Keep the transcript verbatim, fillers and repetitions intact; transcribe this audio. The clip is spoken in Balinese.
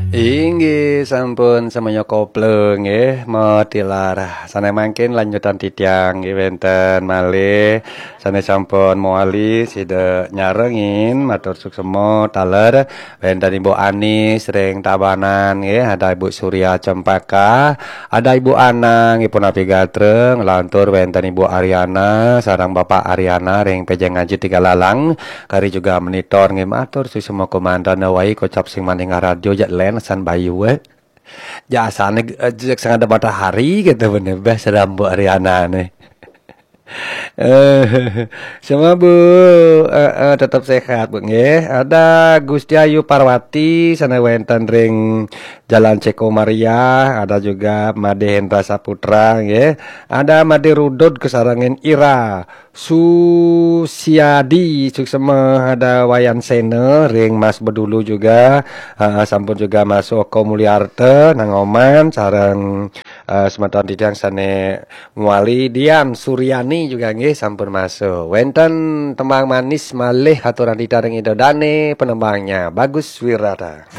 Inggih sampun semuanya koplo nggih, matilar. Sané mangkin lanjutan titiang nggih wénten malih sané sampun mawali sida nyarengin, matur suksema taler wénten Ibu Anis ring Tabanan nggih, ada Ibu Surya Cempaka, ada Ibu Ana nggih punapi gatra, nglantur wénten Ibu Ariana sareng Bapak Ariana ring Pejeng Aji Tiga Lalang, kari juga monitor nggih, matur suksema komandan wai kocap sing maning radio jak len san bayu eh. Jasane eh, jak sing ada matahari gitu bener beh serambut Ariana nih. Eh, sama Bu, eh, eh, tetap sehat Bu nggih. Ada Gusti Ayu Parwati sana wénten ring Jalan Ceko Maria, ada juga Made Hendra Saputra nggih. Ada Made Rudud kesarengan Ira Susiadi, suksema, ada Wayan Sena ring Mas Bedulu juga. Ah, sampun juga masuk Oko Mulyarta nang Oman sareng eh, semeton titiang sané mawali, Dian Suryani juga nggih sampun masuk. Wénten tembang manis malih aturan titiang ring Ida Dane, penembangnya Bagus Wirata.